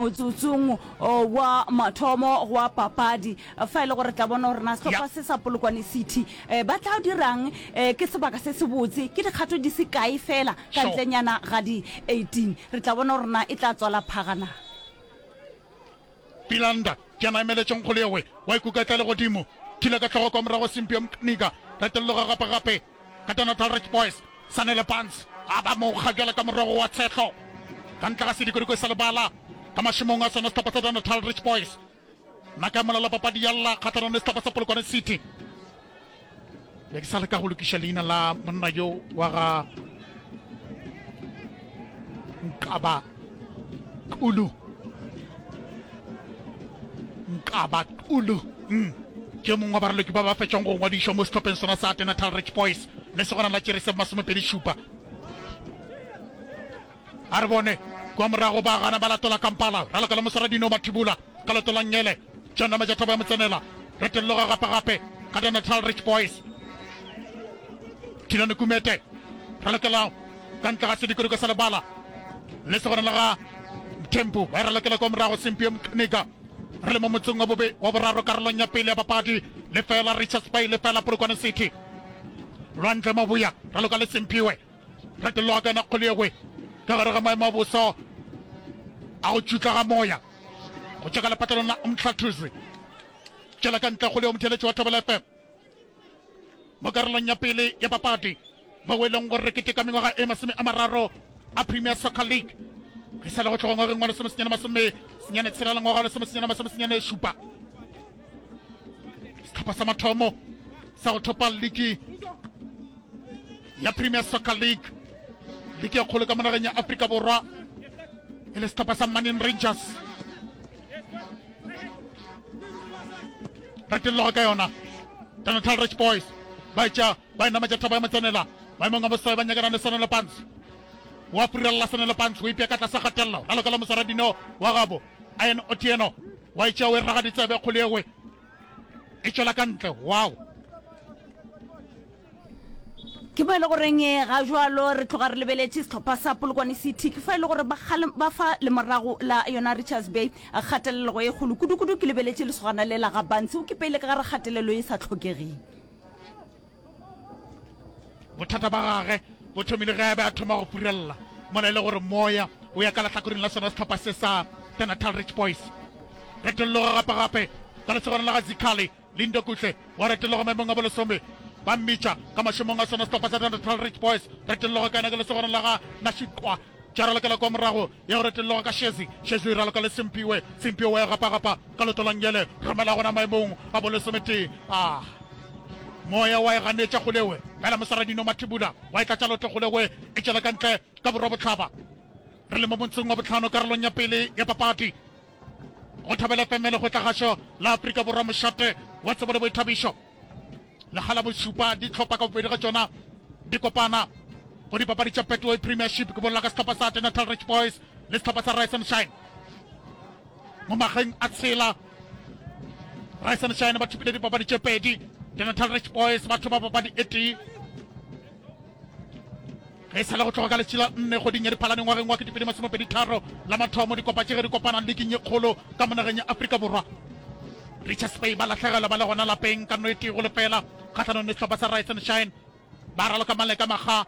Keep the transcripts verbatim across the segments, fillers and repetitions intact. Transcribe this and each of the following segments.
Motsotsong wa mathomo gwa papadi, fa e le gore tla bona gore na sehlopha se sa Polokwane City ba tla dirang. Ke sebaka se sebotse, ke dikgato di se kae fela ka ntlenyana ga di eighteen. Re tla bona gore na e tla tswala phaga na. Philander ke yena a emeletšeng kgole yewe, wa ikuka tla legodimo, thula ka hlogo kwa morago Simphiwe Mqnika, retolloga gape gape ka The Natal Rich Boys, Sanele Barnes a ba mo kga bjalo ka morogo wa tshehlo ka ntle ga sedikodiko sa lebala ka mašemong a sona sehlopha sa The Natal Rich Boys. Naka ya molala papadi ya lla kgahlanong le sehlopha sa Polokwane City. Be ke sa leka go lokiša leina la monna yo wa ga Nkaba Kulu. Nkaba Kulu. Mm. Ke yo mongwe wa baraloki ba ba fetšang go ngwadišwa mo sehlopheng sona sa Natal Rich Boys le segona la tšere se masomepedi šupa. A re bone kua morago ba gana ba latola Kampala, raloka la moswaradino Mathibula ka leoto la nngele. John Namajathoba ya mo tsenela, retelloga gape gape ka The Natal Rich Boys. Thilane Kumete ralokela ka ntle ga sedikodiko sa lebala le segona la ga Mthembu ba e ralokela kua morago Simphiwe Mqnika. Re le mo motseng wa bobe wa boraro karolong ya pele ya papadi, lefela Richards Bay lefela Polokwane City. Lwandle Mabuya raloka le Simphiwe. Retologa ka yona kgole yengwe ka gare ga maemo a boso a go tšutla ga moya go tšwa ka lepatlelong la Umhlathuze. Tšwela ka ntle kgole yo motheeletši wa Thobela F M mo karolong ya pele ya papadi mo e leng gore re keteka mengwaga e masome a mararo a Premier Soccer League e sa le go tloga ngwageng wa lesomesenyane masome senyane tshela le ngwaga wa lesomesenyane masomesenyane šupa. Sehlopha sa mathomo sa go thopa liki ya Premier Soccer League, liki ya kgolo ka mo nageng ya Afrika Borwa, e le sehlopha sa Manning Rangers. Retelloga ka yona The Natal Rich Boys ba etša ba e nametša thaba ya motsenela maemong a bosoe ba nyakana le Sanele Pants wa furella Sanele Pants o ipea ka tlase kgatelelo raloka la moswaradino wa gabo Ian Otieno wa etša o e raga ditsebe kgole ewe e tšwela ka ntle. Wow! Ke mo e le goreng ga jwalo re tloga re lebeletše sehlopha sa Polokwane City, ke fa e le gore ba ba fa lemorago la yona Richards Bay kgatelelego e kgolo kudu-kudu. Ke lebeletše lesogana le la ga Bantsi, o kipeile ka gare kgatelelo e sa hlokegeng. Bothata ba gage bo thomile ge a be a thoma go furella mola e le gore moya o ya ka lehlakoreng la sona sehlopha se sa The Natal Rich Boys. Retolloga gape-gape ka lesogana la ga Zikhali Lindo Kuhle wa retologa maemong a bolesome ba mmitša ka mašomong a sona sehlopha sa The Natal Rich Boys. Retolloga ka yena ke lesogana la ga Nashiqwa tša ralokela kwa morago ya go retolloga ka Shezi. Shezi o raloka le Simphiwe. Simphiwe wa e gapagapa ka leoto la nngele, romela gona maemong a bolesometee. Ah! Moya wa e ganetša kgolewe, fela moswaradino Mathibula wa e tlatša leoto kgolewe e tšwela ka ntle ka borwa-bohlaba. Re le mo motseng wa bohlano karolong ya pele ya papadi. Go Thobela F M Lekgotlagašo la Afrika Borwa mošate wa tsebo le boithabišo. Lekga la bošupa dihlopha ka bobedi ga tšona di kopana go dipapadi tša Betway Premiership. Ke bolela ka sehlopha sa The Natal Rich Boys le sehlopha sa Rise and Shine. Mo mageng a tshela Rise and Shine ba thopile dipapadi tše pedi, The Natal Rich Boys ba thopa papadi e tee. Ge e sa le go tloga ka letšatši la nne kgweding ya Diphalane ngwageng wa ketepedi masomepedi tharo la mathomo dikopa tše ge di kopana liking ye kgolo ka mo nageng ya Afrika Borwa, Richards Bay ba lahlegelwa ba le gona lapeng ka no e tee go lefela kgahlanong le sehlopha sa Rise and Shine. Ba raloka maleka makga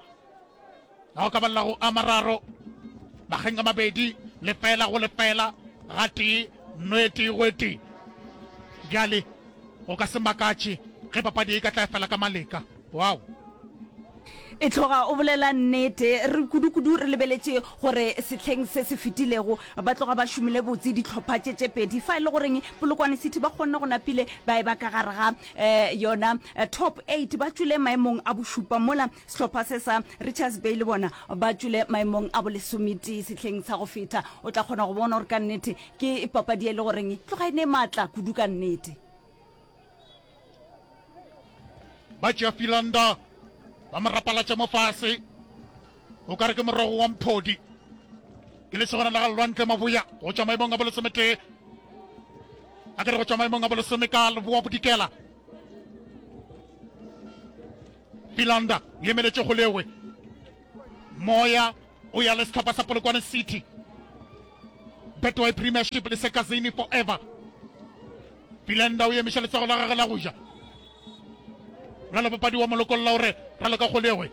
a go ka balela go a mararo makgeng a mabedi, lefela go lefela gatee, no e tee go e tee. Bjale go ka se makatše ge papadi ye e ka tla fela ka maleka. Wow! E tloga o bolela nnete. Re kudu-kudu re lebeletše gore sehleng se se fetilego ba tloga ba šomile botse dihlopha tše tše pedi. Fa e le goreng Polokwane City ba kgonne go napile ba e ba ka gare ga yona top eight, ba tšwele maemong a bošupa, mola sehlopha se sa Richards Bay le bona ba tšwele maemong a bolesometee sehleng sa go feta. O tla kgona go bona gore ka nnete ke papadi e le goreng tloga e ne maatla kudu ka nnete. Ba tšea Philander ba mo rapalatša mo fase, o ka re ke morogo wa mphodi. Ke lesogana la ga Lwantle Maboya go tšwa maemong a bolesometee, a ke re go tšwa maemong a bolesome ka leboa bodikela. Philander o emeletše go lewe, moya o ya le sehlopha sa Polokwane City. Betway Premiership le Sekazini forever. Philander o emiša letsogo la gagwe la go ja. Ralapapadi wa molokolla o re raloka kgolegwe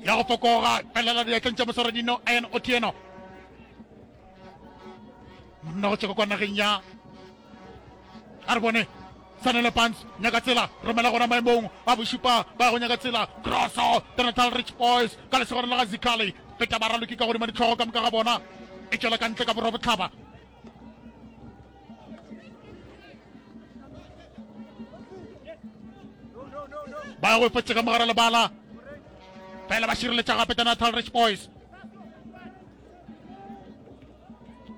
ya go fokoga felela diatleng tša moswaradino Ian Otieno. Monna go tšwa kwa nageng ya a re bone Sanele Pants nyaka tsela romela gona maemong a bošupa ba go nyaka tsela crosso The Natal Rich Boys ka lesogana la ga Zikhali feta baraloki ka godima ditlhogo ka moka ga bona e tšwela ka ntle ka borwa bohlaba. Ba go fetše ka mogare lebala fela ba šireletša gape The Natal Rich Boys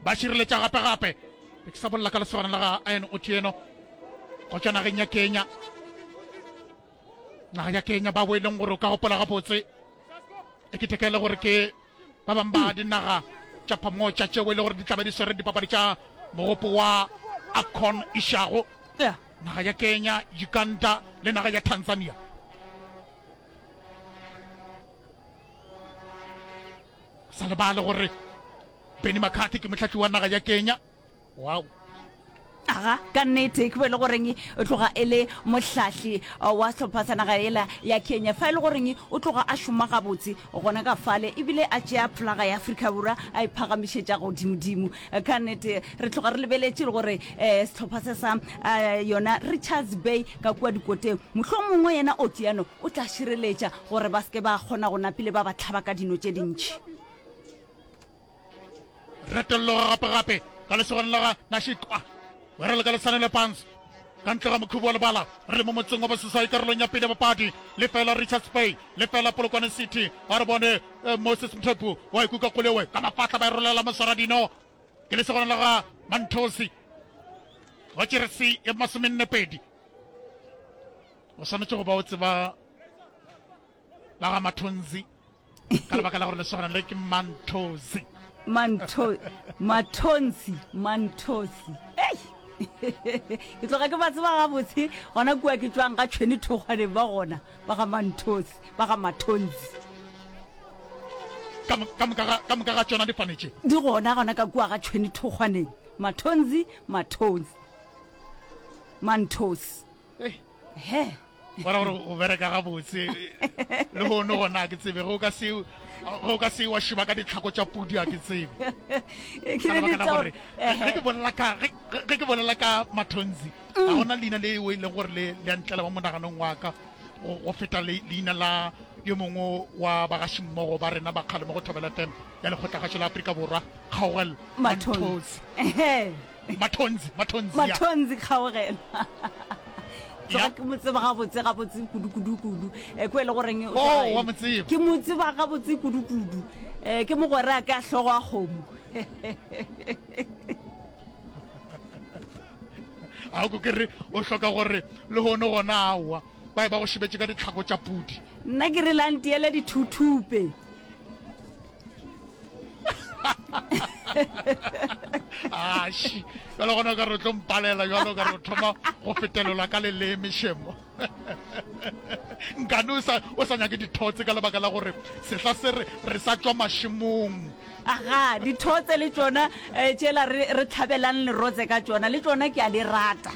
ba šireletša gape gape ke sa bolela ka lesogana la ga Ian Otieno go tšwa nageng ya Kenya naga ya Kenya ba bo e leng gore o ka gopola gabotse e ke thekele gore ke ba bangwe ba dinaga tša phamotša tšeo e le gore di tlabe di swere dipapadi tša mogopo wa AFCON išago naga ya Kenya, Uganda le naga ya Tanzania. Sa lebale gore Benny McCarthy ke mohlahli wa naga ya Kenya. Wow. Aga, ka nnete, ke bo e le goreng o tloga e le mohlahli wa sehlopha sa naga yela ya Kenya. Fa e le goreng o tloga a šoma gabotse gona ka fale, ebile a tšea flaga ya Afrika Borwa a e phagamišetša godimodimo. Ka nnete, re tloga re lebeletše le gore sehlopha se sa yona Richards Bay ka kua dikoteng, mohlomongwe yena Otieno o tla šireletša gore ba se ke ba kgona go napile ba ba hlaba ka dino tše dintši. Retolloga gape-gape ka lesogana la ga Nashikwa, wera le ka lesanele Pans ka ntle ga mokhubu wa lebala. Re le mo motseng wa boseswai karolong ya pele ya papadi. Lefela Richards Bay, lefela Polokwane City. A re bone eh, Moses Mthepu wa ikuka kgolewe ka mafahla ba e rolela moswaradino. Ke lesogana la ga Manthosi wa jeresi ya masomenne pedi. O swanetše go ba o tseba ba ga Mathonzi ka lebaka la gore lesogana le ke Manthozi. Mantho Mathonzi Manthozi. Ei! Ke tloga ke ba tseba gabotse gona kua ke tšwang ga tšhwene thokgwaneng ba gona ba ga Manthozi ba ga Mathonzi. Ka mo- ka moka ga- ka moka ga tšona difane tše. Di gona gona ka kua ga tšhwene thokgwaneng. Mathonzi Mathonzi Manthozi. Ei. He. Bona gore o bereka gabotse le hono gona a ke tsebe ge o ka se ge o ka se wa šeba ka ditlhako tša pudi a ke tsebe Ke ka lebaka la gore gore ge ke bolela ka ge ge ke bolela ka Mathonzi ga gona leina le o e leng gore le le a ntlela mo monaganong wa ka go go feta le leina la yo mongwe wa bagašimmogo ba rena ba kgale mo go Thobela F M ya Lekgotlakgašo la Afrika Borwa Kgaogelo Mathonzi Mathonzi Mathonzi Mathonzi ya Mathonzi Kgaogelo Tloga Ya. ke mo tseba gabotse gabotse kudu kudu kudu. Eh, ko e le goreng o Oh, tloga wa mo tseba. Ke mo tseba gabotse kudu kudu. Eh, ke mogwera a ka hlogo a kgomo. A ko ke re o hloka gore le hono gona aowa ba e ba go šebetše ka ditlhako tša pudi. Nna ke re la ntiele dithuthupe. Aši, jalo gona o ka re o tlo mpalela jalo o ka re o thoma go fetelelwa ka leleme šemo. Nkane o sa o sa nyake dithotse ka lebaka la gore sehla se re re sa tšwa mašemong. Aga, dithotse le tšona eh, tšela re re tlhabelang lerotse ka tšona le tšona ke a di rata.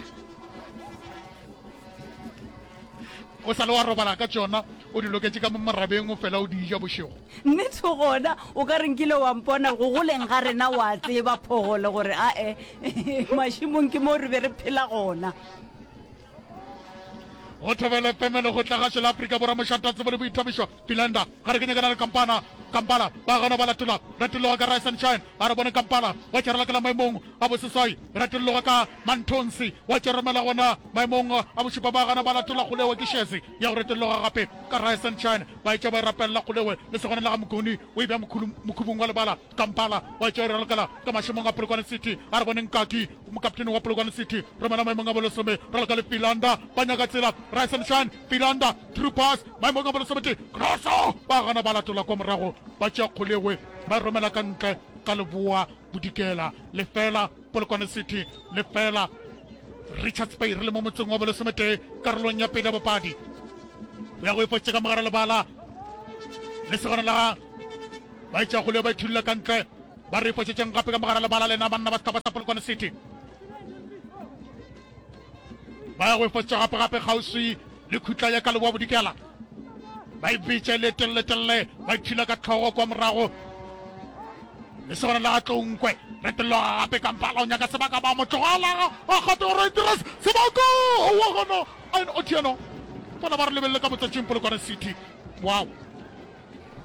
O sa le wa robala ka tšona, o di loketše ka mo morabeng o fela o di ja bošego. Nnete gona o ka re nkile wa mpona go goleng ga rena wa tseba phogole gore ae mašemong ke mo re be re phela gona. Go thobela F M Lekgotlagašo la Afrika Borwa mošate wa tsebo le boithabišo Philander ga re ke nyakana le Kampana Kampala ba gana ba latola retologa ka Rise and Shine a re bone Kampala wa tšerela ke la maemong a boseswai retologa ka Manthonsi wa tšeremela gona maemong a bošupa ba gana ba latola kgolewe ke Shezi ya go retologa gape ka Rise and Shine ba etša ba e rapelela kgolewe le segona la ga Mokoni o e bea mokhubung wa lebala Kampala wa etša e ralokela ka mašemong a Polokwane City a re bone Nkaki mokaptene wa Polokwane City romela maemong a bolesome raloka le Philander ba nyaka tsela Rise and Shine Philander true pass maemong a bolesometee crosso ba gana ba latola kwa morago ba tšea kgolewe ba e romela ka ntle ka leboa bodikela lefela Polokwane City lefela Richards Bay re le mo motseng wa bolesometee karolong ya pele ya bopadi o ya go ipotše ka mogare lebala le segona la ba etša kgole ba ithulla ka ntle Ba re fošetšeng gape ka mogara lebala lena banna ba sehlopha sa Polokwane City. Ba ya go e fošetša gape gape kgauswi le khutla ya ka leboa bodikela. Ba e bitša e le telele-telele, ba ithula ka hlogo kwa morago. Lesogana la ga Tlounkwe retologa gape Kampala o nyaka sebaka ba mo tlogela a gate gore dire sebaka wa gona Ian Otieno bona ba re lebelele ka motswetšing Polokwane City. Wow.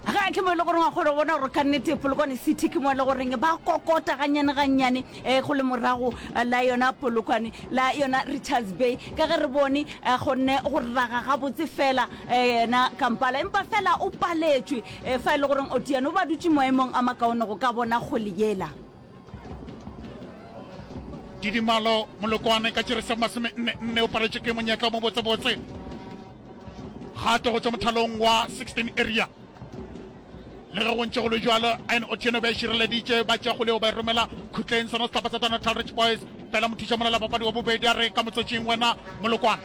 Ga ke mo e le goreng wa kgona go bona gore ka nnete Polokwane City ke mo e le goreng ba kokota gannyane gannyane um go le morago la yona Polokwane la yona Richards Bay ka ge re bone a kgonne go raga gabotse fela yena Kampala empa fela o paletšwe fa e le goreng Otieno o ba dutše maemong a makaone go ka bona kgole yela. Didimalo Molokwane ka tšere se masome nne nne o paletšwe ke monyetla o mobotsebotse gato go tšwa mothalong wa sixteen area. Le ge go ntše go le bjalo, Ian Otieno be a šireleditše ba tšea kgole yeo ba e romela khutleng sona sehlopha sa Natal Rich Boys. Fela mothuša mola la papadi wa bobedi a re ka motswetšing wena Molokwane.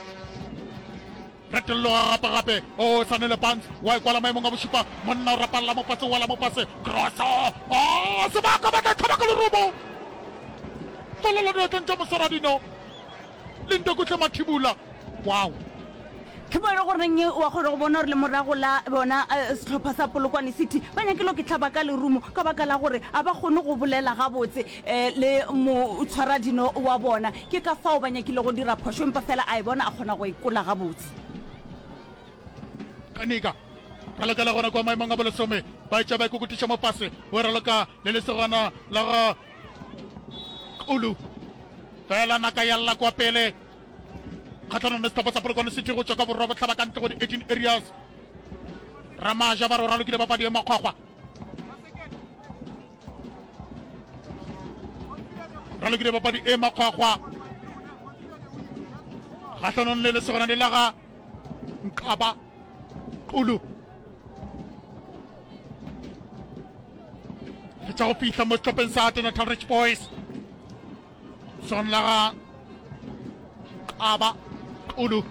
Retolloga gape gape o Sanele Barnes wa e kwala maemong a bošupa monna o rapalla mo fase o wela mo fase crosso oh sebaka ba tla hlaba ka lerumo fela diatleng tša moswaradino Lindokuhle Mathibula wow. Ke mo e le goreng wa kgona go bona gore le morago la bona sehlopha sa Polokwane City ba nyakile go hlaba ka lerumo ka baka la gore a ba kgone go bolela gabotse le motshwaradino wa bona. Ke ka fao ba nyakile go dira phošo empa fela a e bona a kgona go e kola gabotse. Kanika ralokela gona kua maemong a bolesome ba etša ba ikokotiša mo fase o raloka le lesogana la ga Kulu fela naka ya lla kwa pele kgahlanong le sehlopha sa Polokwane City go tšwa ka borwa bohlaba ka ntle go di eighteen areas. Ramaja ba re o ralokile papadi e makgwakgwa. Ralokile papadi e makgwakgwa kgahlanong le lesogana le la ga Nkaba Qulu. Fetša go fihla mo sehlopheng sa Natal Rich Boys. Son la ga Qaba Qulu.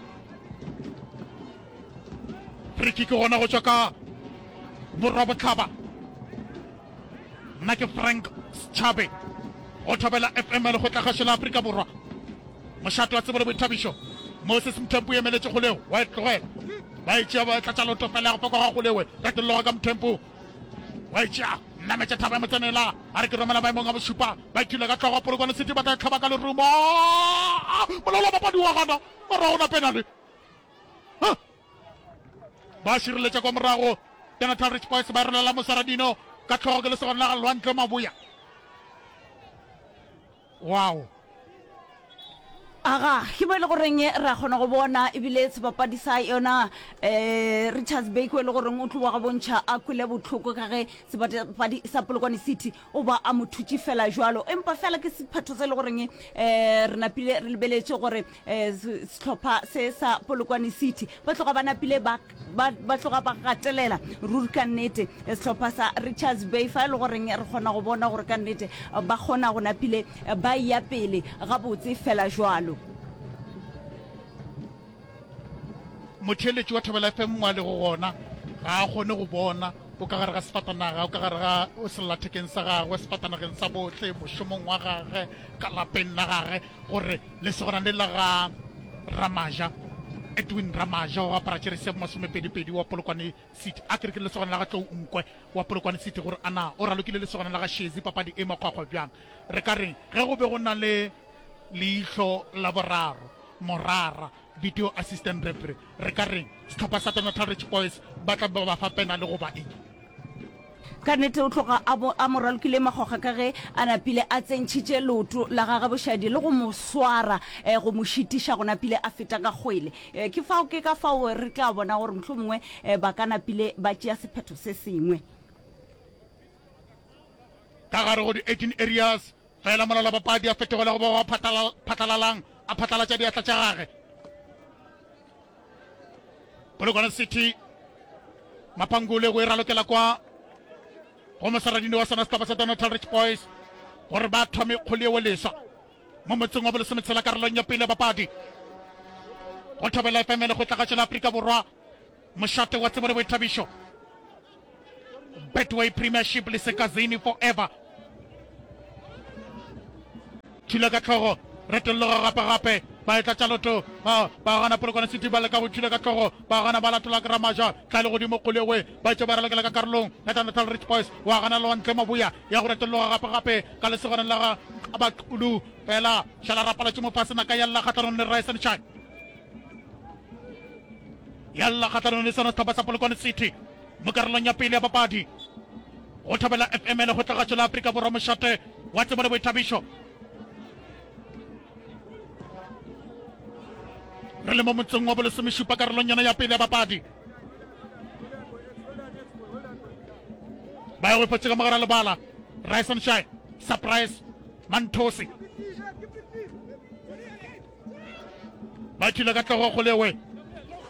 Free kick gona go tšwa ka borwa bohlaba. Nna ke Frank Schabe go Thobela F M lekgotlakgašo la Afrika Borwa. Mošate wa tsebo le boithabišo Moses Mthempu emeletše kgoleo wa e tlogela. Ba e tšea ba tlatša loto fela ya go pekwa ga kgolewe retolloga ka Mthempu. Wa e tšea nametša thaba ya motsenela a re ke romela maemong a bošupa ba ithula ka hlogo Polokwane City ba tla hlaba ka lerumo molao wa papadi wa gana mara gona penale ba šireletša kwa morago Natal Rich Boys ba rolela moswaradino ka hlogo ke lesogana la ga Lwandle Maboya. Wow. Aga, ke mo e le goreng ra kgona go bona ebile sebapadi sa yona um Richards Bay ko e le goreng o tloga go bontšha a kwele bohloko ka ge sebapadi sa Polokwane City o ba a mo thutše fela jwalo. Empa fela ke sephetho se e le goreng um re napile re lebeletše gore um sehlopha se sa Polokwane City ba tloga ba napile ba ba ba tloga ba gatelela ruri ka nnete sehlopha sa Richards Bay fa e le goreng re kgona go bona gore ka nnete ba kgona go napile ba eya pele gabotse fela jwalo. Motheeletši wa Thobela F M mo a lego gona ga a kgone go bona, o ka gare ga sefatanaga, o ka gare ga sellathekeng sa gagwe, sefatanageng sa bohle, mošomong wa gage, ka lapeng la gage, gore lesogana le la ga Ramaja, Edwin Ramaja wa go apara jeresi ya bomasomepedi-pedi wa Polokwane City, a ke re ke lesogana la ga Tlou Nkwe wa Polokwane City, gore a na o ralokile lesogana la ga Shezi papadi e makgwakgwa bjang. Re ka reng ge go be go na le leihlo la boraro, morara, video assistant referee, re ka reng sehlopha sa Natal Rich Boys ba tla be ba fa penale goba eng? Ka nnete o tloga a bo a mo ralokile makgwakgwa ka ge a napile a tsentšhitše leoto la gagwe bošadi le go mo swara go mo šitiša go napile a feta ka kgwele. Ke fao ke ka fao re tla bona gore mohlomongwe ba ka napile ba tšea sephetho se sengwe. Ka gare go di eighteen areas, fela molala-papadi a fetogela go ba wa phatlalalang a phatlalatša diatla tša gage. Polokwane City Mapangule go e ralokela kwa go mosaradini wa sona sehlopha sa Natal Rich Boys gore ba thome kgole yeo leswa mo motseng wa bolesometshela karolong ya pele ya papadi go Thobela F M lekgotlakgatšo la Afrika Borwa mošate wa tsebo le boithabišo Betway Premiership le Sekazini forever. Thula ka hlogo, retolloga gape gape, ba etla tša loto, ba, ba gana Polokwane City ba leka go thula ka hlogo, ba gana ba latola Ramaja, tla le godimo Kgolewe, ba etše ba ralokela ka karolong ya Natal Rich Boys, wa gana Lwantle Maboya, ya go retolloga gape gape ka lesogana la ga Abaqulu, fela šala rapalatše mo fase naka ya lla kgahlanong le Rise and Shine. Ya lla kgahlanong le sona sehlopha sa Polokwane City mo karolong ya pele ya papadi. Go Thobela F M le Kgotlagatšo la Afrika Borwa mošate wa tsebo le boithabišo. Re le mo motseng wa bolesomešupa karolong yona ya pele ya papadi. Ba ya go ipotse ka mogara lebala. Rise and Shine, Surprise, Manthosi. Ba thula ka hlogo Kgolewe.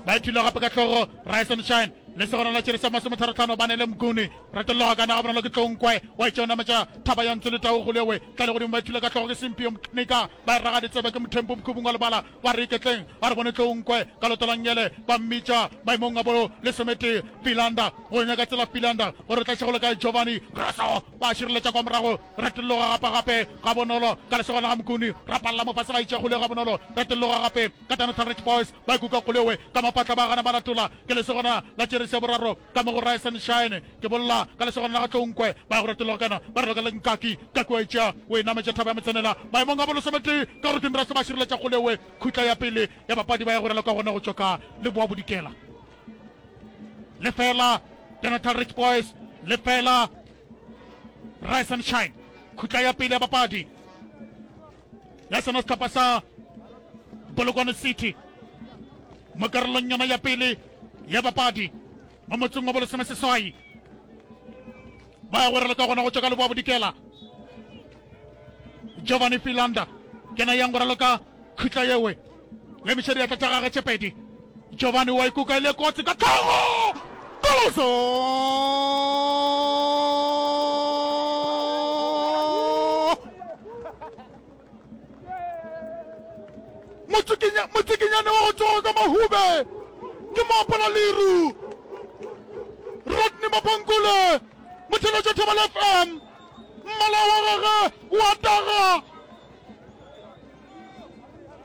Ba thula gape ka hlogo Rise and Shine. Le segona la tšere sa masometharo-hlano ba ne le Mguni. Retologa ka naga bonolo ke Tlonkwe. Wa itše o nametša thaba ya Ntsu le Tau Kgolewe. Tla le godimo ba thula ka hlogo ke Simpio Mknika. Ba e raga ditsebe ke Mothempu Mokhubung wa lebala. Ba re iketleng a re bone Tlonkwe ka loto la nngele. Ba mmitša maemong a bo lesometee Philander. Go nyaka tsela Philander gore o tla šego le kae Giovanni Grosso. Ba šireletša kwa morago. Retologa gape gape gabonolo ka lesogana ga Mokuni. Rapalla mo fase ba itše kgole gabonolo. Retologa gape ka Tanotlha Rich Boys ba ikuka kgolewe ka mapatla ba gana ba latola. Ke lesogana la tšerese ya boraro ka mo go Rise and Shine. Ke bolla ka lesogana la ga Tlonkwe ba ya go retologa kana ba raloka le Nkaki. Nkaki wa itšea o e nametša thaba ya Motsenela maemong a bolesometee ka gore Dinrase ba šireletša kgolewe. Khutla ya pele ya bapadi ba ya go raloka gona go tšwa ka Leboa Bodikela. Lefela Tanotlha Rich Boys lefela Rise and Shine. Khutla ya pele ya bapadi ya sona sehlopha sa Polokwane City mo karolong yona ya pele ya bapadi mo motseng wa bolesome seswai ba ya go raloka gona go tšwa ka Leboa Bodikela. Giovanni Philander ke na yang go raloka khutla yewe le emiša diatla tša gagwe tše pedi. Giovanni wa ikuka e le kotsi ka tlhogo. Koloso! Motsikinyane wa go tsoga ka mahube ke moapola leru Rodney Mapangule motheletšo Thobela F M mmala wa gagwe wa taga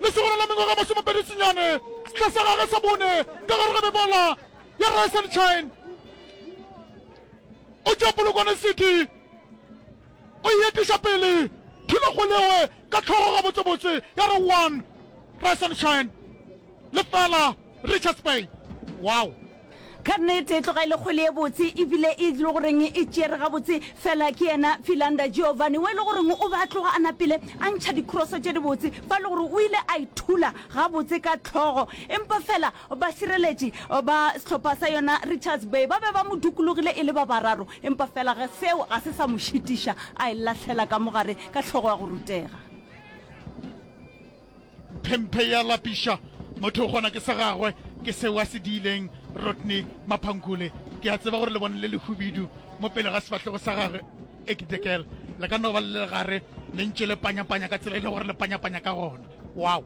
Lesogana la mengwaga masomepedi senyane sehla sa gagwe sa bone ka gare ga mebala ya Rise and Shine o tšwa Polokwane City o e etiša pele thula kgolewe ka hlogo gabotsebotse ya re one Rise and Shine lefela Richards Bay. Wow! Ka nnete e tloga e le kgwele ye botse ebile e le goreng e tšere gabotse fela ke yena Philander Giovanni o e le goreng o be a tloga a napile a ntšha dikroso tše dibotse fa e le gore o ile a ithula gabotse ka hlogo empa fela bašireletši ba sehlopha sa yona Richards Bay ba be ba mo dukulogile e le ba bararo empa fela ge seo ga se sa mo šitiša a e lahlela ka mogare ka hlogo ya go rutega. Phemphe ya lapiša motho o kgona ke sa gagwe ke seo a se diileng Rodney Maphankule. Ke a tseba gore le bone le lehubidu mo pele ga sefahlego sa gagwe Ekidekel le ka no ba le le gare le ntše le panyapanya ka tsela e le gore le panyapanya ka gona. Wow!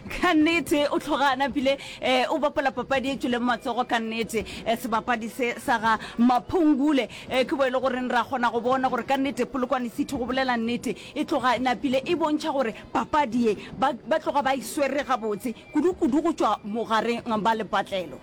Ka nnete o tloga a napile eh, o bapala papadi e tšweleng matsogo ka nnete. Eh, sebapadi se sa ga Maphungule eh, ke bo e le goreng ra kgona go bona gore ka nnete Polokwane City go bolela nnete e tloga e napile e bontšha gore papadi ye ba, ba tloga ba e swere gabotse kudu-kudu go tšwa mogareng ba lepatlelo.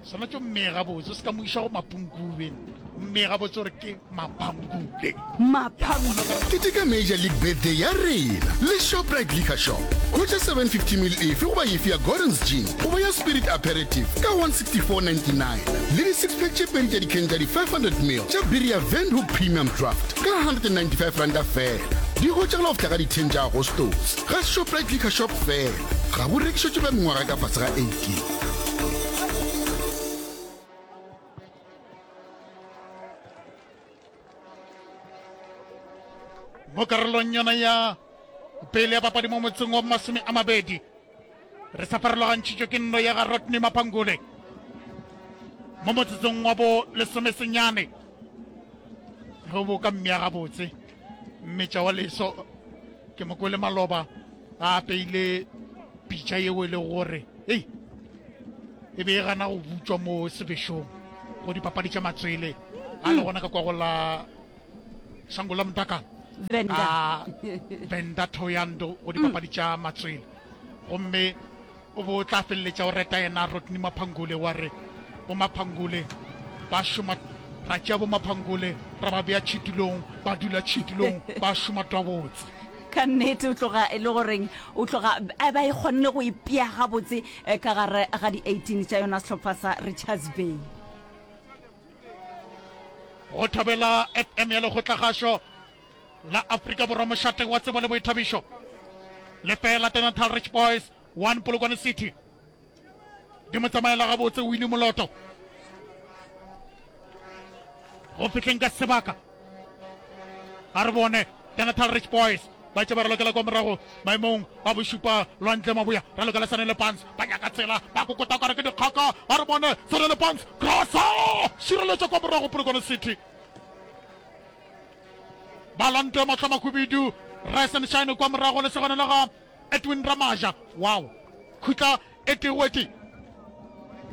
Swanetše o mmee gabotse, o se ka mo iša go Mapungubwe. O mmee gabotse gore ke Mapangule. Mapangule. Keteka Major League Birthday ya rena le Shoprite Liquor Shop. Hwetša seven fifty ml efe goba efe ya Gordon's Gin goba ya Spirit Aperitif ka one sixty four ninety nine le di six pack tše pedi tša dikheng tša di five hundred ml tša biri ya Windhoek Premium Draft ka hundred and ninety five ranta feela. Di hwetšagala go fihla ka di ten tša Agostose ga Shoprite Liquor Shop feela. Ga bo rekišetšwe ba mengwaga ka fase ga eighteen. Mo karolong yona ya pele ya papadi mo motseng wa masome a mabedi re sa farologantšhitšwe ke nno ya ga Rodney Mapangule mo motsotsong wa bo lesomesenyane ge o bo ka mmea gabotse mmetša wa leso ke mo kwele maloba a apeile pitša yeo e lego gore ei e be e gana go butšwa mo sebešong go dipapadi tša matswele a le gona ka kwa go la Shango la Motaka. Venda. Ka Venda Thohoyandou go dipapadi tša matswele. Gomme o bo tla feleletša o reta yena Rodney Maphangule wa re bo Maphangule ba šoma, ra tšea bo Maphangule ra ba bea tšhitulong, ba dula tšhitulong ba šoma twabotse. Ka nnete o tloga e le goreng o tloga a ba e kgonne go ipea gabotse ka gare ga di eighteen tša yona sehlopha sa Richards Bay. Go thobela F M ya Lekgotlakgašo la Afrika Borwa mošate wa tsebo le boithabišo. Lefela Natal Rich Boys one Polokwane City. Di mo tsamaela gabotse Winnie Moloto. Go fihleng ka sebaka. A re bone Natal Rich Boys ba tše ba ralokela kwa morago maemong a bošupa Lwandle Maboya ralokela Sanele Pants ba nyaka tsela ba kokota kare ke dikgaka a re bone Sanele Pants crossa šireletša kwa morago Polokwane City ba lantwe mahlo mahubidu Rise and Shine kwa morago le segone la ga Edwin Ramaja wow khutla e tee go e tee.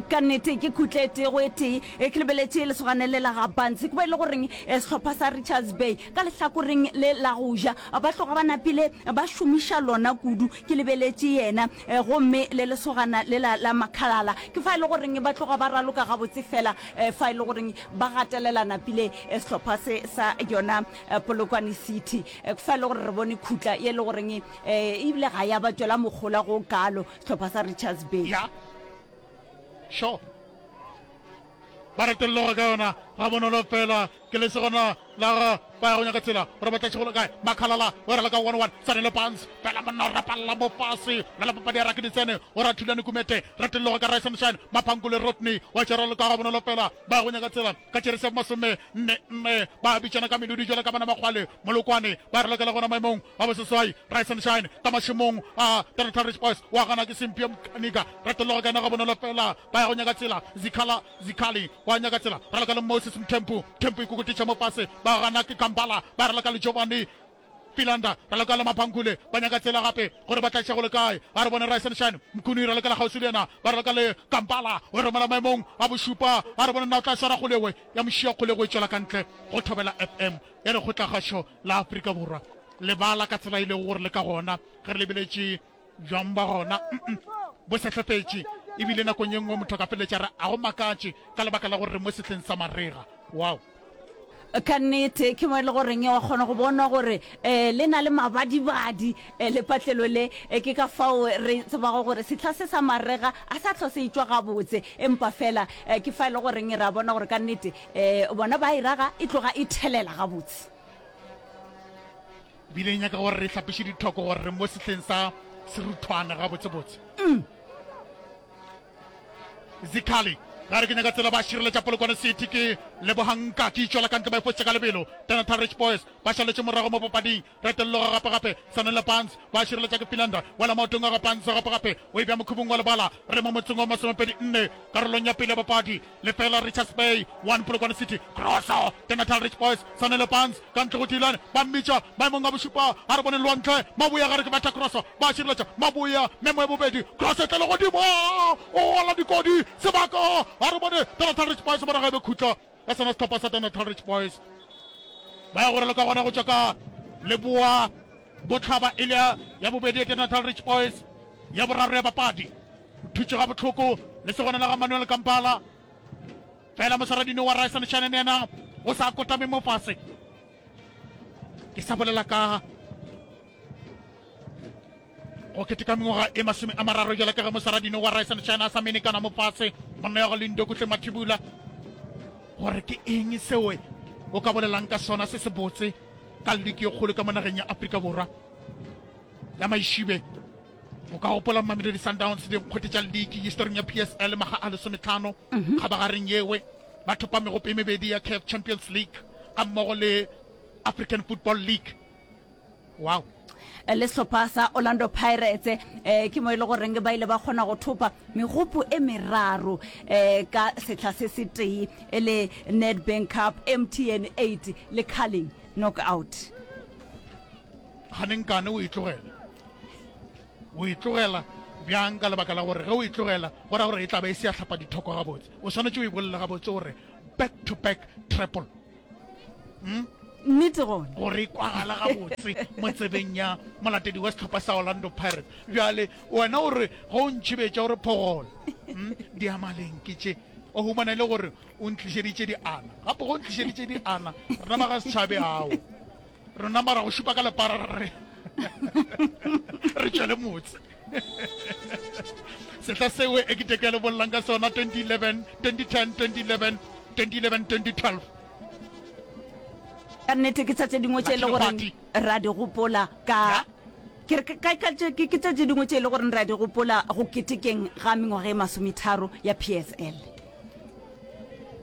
Ka nnete ke khutla e tee go e tee. E ke lebeletše lesogana le la ga Bantsi, ke bo e le goreng sehlopha sa Richards Bay ka lehlakoreng le la go ja ba tloga ba napile ba šomiša lona kudu. Ke lebeletše yena gomme le lesogana le la la Makhalala, ke fa e le goreng ba tloga ba raloka gabotse fela fa e le goreng ba gatelela napile sehlopha se sa yona Polokwane City. Ke fa e le gore re bone khutla ye e le goreng ebile ga ya ba tšwela mogola go kalo sehlopha sa Richards Bay. Ya. Sure. Ba retolloga ka yona ga bonolo fela ke lesogana la ga ba ya go nyaka tsela gore ba tla tšhegolo kae Makhalala o rela ka one one Sanele Barnes fela monna o rapalla mo fase la la papadi ya raki ditsene o ra thulane Kumete retolloga ka Rise and Shine Maphankole Rodney wa tšeralo ka ga bonolo fela ba ya go nyaka tsela ka tšerese masome nne nne ba bitšana ka melodi jwale ka bana makgwale Molokwane ba relokela gona maemong a boseswai Rise and Shine ka mašemong a Natal Rich Boys wa gana ke Simpie Mkanika retolloga ka yena ga bonolo fela ba ya go nyaka tsela Zikhala Zikhali wa nyaka tsela raloka le Moses Mthempu Mthempu ikokotiša mo fase ba gana ke Kampala ba raloka le Giovanni Philander raloka le Maphankule ba nyaka tsela gape gore ba tla iša go le kae a re bone Rise and Shine Mkhuni ralokela kgauswi le yena ba raloka le Kampala o romela maemong a bošupa a re bone na o tla swara kgolegwe ya mošia kgolego e tšwela ka ntle go thobela F M ya Lekgotlakgašo la Afrika Borwa lebala ka tsela e lego gore le ka gona ge re lebeletše bjang ba gona bo sehlefetše ebile nakong ye nngwe motho a ka feleletša re a go makatše ka lebaka la gore re mo sehleng sa marega. Wow. Ka nnete ke mo e le goreng wa kgona go bona gore um le na le mabadibadi um lepatlelo le. Ke ka fao re tsebago gore sehla se sa marega a sa hlwa se etšwa gabotse, empa fela ke fa e le goreng re a bona gore ka nnete um bona ba e raga e tloga e thelela gabotse. Bile e nyaka gore re hlapiše dithoko gore re mo sehleng sa seruthwane gabotsebotse. Zikhali ga re ke nyaka tsela ba šireletša Polokwane City ke Lebohang Nkaki tšwela ka ntle ba e fošitše ka lebelo. Natal Rich Boys ba šaletše morago mo papading. Retelloga gape gape Sanele Barnes ba šireletša ke Philander wela maotong a ga Barnes gape gape o e bea mokhubung wa lebala. Re mo motseng wa masomepedi nne karolong ya pele ya papadi. Lefela Richards Bay one Polokwane City Crosso Natal Rich Boys Sanele Barnes ka ntle go Dylan ba mmitša maemong a bošupa a re bone Lwantle Maboya gare ke betha Crosso ba šireletša Maboya memo ya bobedi Crosso e tlele godimo o gola dikodi sebaka a re bone Natal Rich Boys morago e be khutla ya sona sehlopha sa Natal Rich Boys ba ya go raloka gona go tšwa ka leboa bohlaba e le ya bobedi ya Natal Rich Boys ya boraro ya papadi thutše ga bohloko le segona la ga Manuel Kampala fela moswaradino wa Rise and Shine yena o sa kotame mo fase ke sa bolela ka go keteka mengwaga e masome a mararo jale ka ge moswaradino wa Rise and Shine a sa menekana mo fase monna ya go Lindo Kuhle Mathibula gore ke eng seo o ka bolelang ka sona se se botse ka liki e kgolo ka mo nageng ya Afrika Borwa ya Maišibe. O ka gopola Mamelodi Sundowns dinkgwete tša liki historing ya P S L maga a lesometlhano kgabagareng yewe ba thopa megopo e mebedi ya CAF Champions League ga mmogo le African Football League. Wow. Le sehlopha sa Orlando Pirates eh, ke mo e le goreng ba ile ba kgona go thopa megopo e meraro eh, ka sehla se se tee e le Nedbank Cup, M T N eight le Carling Knockout. Ganenkane o e tlogela. O e tlogela bjang? Ka lebaka la gore ge o e tlogela go ra gore e tla be e se ya hlapa dithoko gabotse. O swanetše o e bolele gabotse gore back to back triple. Hmm? Nnete gona. Gore e kwagala gabotse mo tsebeng ya molatedi wa sehlopha sa Orlando Pirates. Bjale wena o re ge o ntšhibetša o re phogolo. Hmm? Diamaleng ke tše. O humana e le gore o ntlišeditše diana. Gape ge o ntlišeditše diana, rena ba ga setšhabe ao. Rena mara go šupa ka lepara re re re tšwele motse. Sehla seo e ke teke le bollang ka sona twenty eleven, twenty ten, twenty eleven, twenty eleven, twenty twelve. Ka nnete ke tša tše dingwe tše e le gore ra di gopola ka ke re ka ka ke ke tša tše dingwe tše e le gore ra di gopola go ketekeng ga mengwaga e masometharo ya P S L.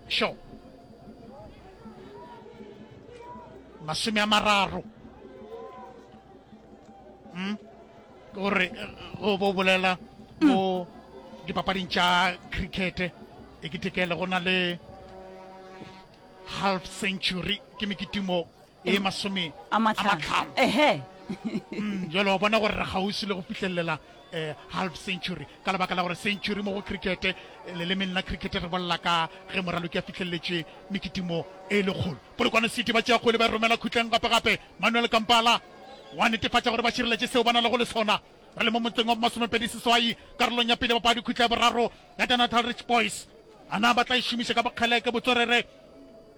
Sure. Masome a mararo. Mm. Ke gore go bo bolela mo dipapading tša cricket e ketekele go na le half century ke mekitimo e masome a mahlano. Ehe. Mm, jalo wa bona gore re kgauswi le go fihlelela eh, half century ka lebaka la gore century mo go cricket eh, lelemeng la cricket re bolela ka ge moraloki a fihleletše mekitimo e lekgolo. Polokwane City ba tšea kgwele ba e romela khutleng gape-gape. Manuel Kampala wa netefatša gore ba šireletše seo ba na lego le sona. Re le mo motseng wa bomasomepedi seswai karolong ya pele papadi khutla ya boraro ya Natal Rich Boys. A na ba tla e šomiša ka bokgeleke botswerere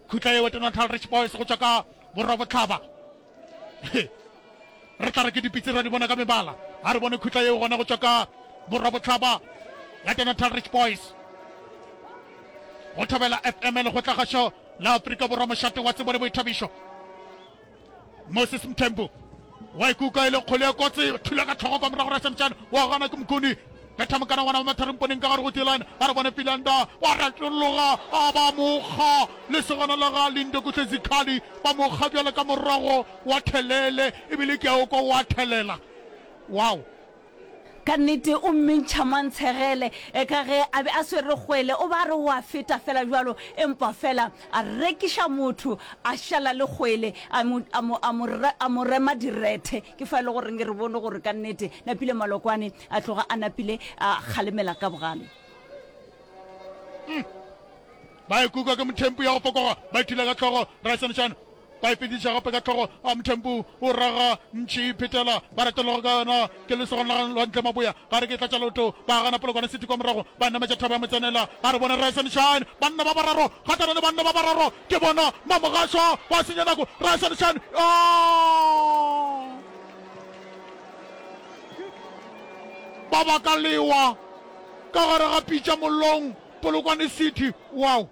khutla yeo ya Natal Rich Boys go tšwa ka borwa-bohlaba? Re tla re ke dipitsi ra di bona ka mebala. A re bone khutla yeo gona go tšwa ka borwa-bohlaba ya Natal Rich Boys. Go Thobela F M Lekgotlakgašo la Afrika Borwa mošate wa tsebo le boithabišo. Moses Mthembu wa ikuka e le kgole ya kotsi, thula ka tlhogo kwa morago Rasemtšane wa gana ke Mokuni. Betha mokana ngwana wa Mathare Mponeng ka gare go Tilane, a re bone Filanda wa retologa a ba mokga lesogana la ga Lindo Kuhle Zikhali ba mokga bjale ka morago wa thelele ebile ke a o kwa wa thelela. Wow! Ka nnete o mmentšha mantshegele ka ge a be a swere kgwele, o ba a re o a feta fela bjalo, empa fela a rekiša motho a šala le kgwele a mo, a mo, a mo, a mo rema direthe. Ke fa e le goreng re bone gore ka nnete Napile Malokwane a tloga a napile a kgalemela ka bogale. Mm. Ba ikuka ke Mothempu ya go fokoga, ba ithula ka hlogo, Raesanešane Ba e fetiša gape ka hlogo a Mthembu o raga ntši e phetela ba retologa ka yona ke lesogana la Lwantle Maboya ga re ke tlatša leoto ba gana Polokwane City kwa morago ba nametša thaba ya Motsenela ga re bone Rise and Shine banna ba bararo kgahlano le banna ba bararo ke bona Mamogašwa ba senya nako Rise and Shine oh! Ba baka lewa ka gare ga pitša mollong Polokwane City wow!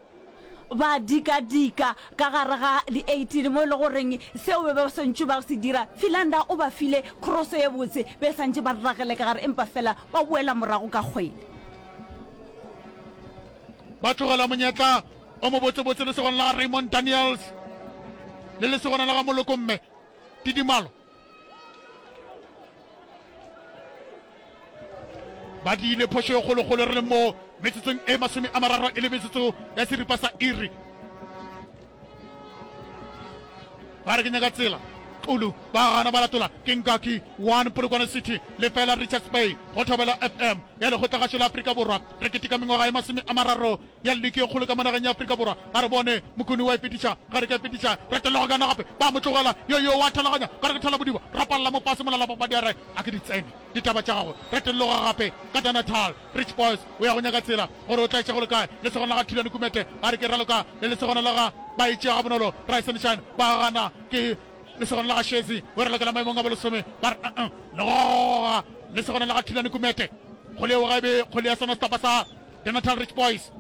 Ba dika-dika ka gare ga di-eighteen mo e le goreng seo be ba swantšwe ba se dira, Philander o ba file kroso ye botse, be santše ba ragele ka gare empa fela ba boela morago ka kgwele. Ba tlogela monyetla o mobotsebotse lesogana la ga Raymond Daniels le lesogana la ga Moloko Mme Tidimalo. Ba diile phošo e kgolokgolo re le mo metsotsong e masome a mararo e le metsotso ya seripa sa iri. Ba re ke nyaka tsela. Xulu ba gana ba latola ke Nkaki one Polokwane City lefela Richards Bay go Thobela F M ya Lekgotlagašo la Afrika Borwa. Re keteka mengwaga e masome a mararo ya liki e kgolo ka mo nageng ya Afrika Borwa. A re bone Mokuni wa e fetiša, ga re ke a fetiša, retologa kana gape, ba mo tlogela, yo yo wa thalaganya, ka re ke thalabodiba, rapalla mo fase mola la papadi a re a ke di tsene ditaba tša gagwe, retologa gape ka Danatal, Rich Boys o ya go nyaka tsela gore o tla iša go le kae, lesogana la ga Thulani Kumete a re ke raloka le lesogana la ga ba e tšea gabonolo, Rise and Shine ba gana ke lesogana la ga Shezi o ralokela maemong a bolesome ba re uh-uh, le goga lesogana la ga Thulani Kumete kgole eo ga e be kgole ya sona sehlopha sa The Natal Rich Boys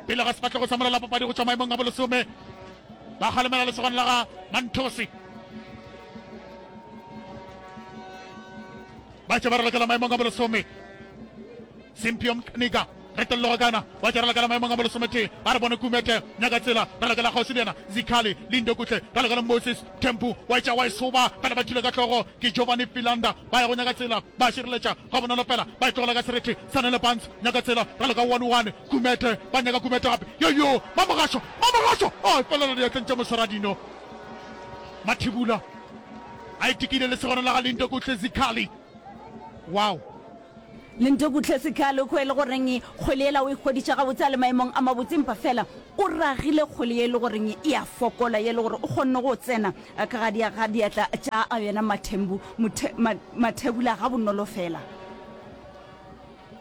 pele ga sefahlego sa mola la papadi go tšwa maemong a bolesome ba kgalemela lesogana la ga Manthosi ba tše ba ralokela maemong a bolesome Simpio Mkanika retolloga kana wa tša ralokela maemong a bolesometee a re bone Kumete nyaka tsela ralokela kgauswi le yena Zikhali Lindo Kuhle ralokela Moses Tempu wa etša wa e soba fela ba thule ka hlogo ke Giovanni Philander ba ya go nyaka tsela ba šireletša Gabonolo fela ba e tlogela ka serethe Sanele Barnes nyaka tsela raloka one one Kumete ba nyaka Kumete gape yo yo Mamogašo Mamogašo oh e felela diatleng tša Moswaradino Mathibula a itikile lesogana la ga Lindokuhle Zikhali wow. Lindokuhle Sikhalo kwe e le goreng kgwele yela o e hweditše gabotse a le maemong a mabotse empa fela o ragile kgwele ye e le goreng e a fokola ye e le gore o kgonne go tsena ka ga ga diatla tša yena Mathembu Mathebula gabonolo fela.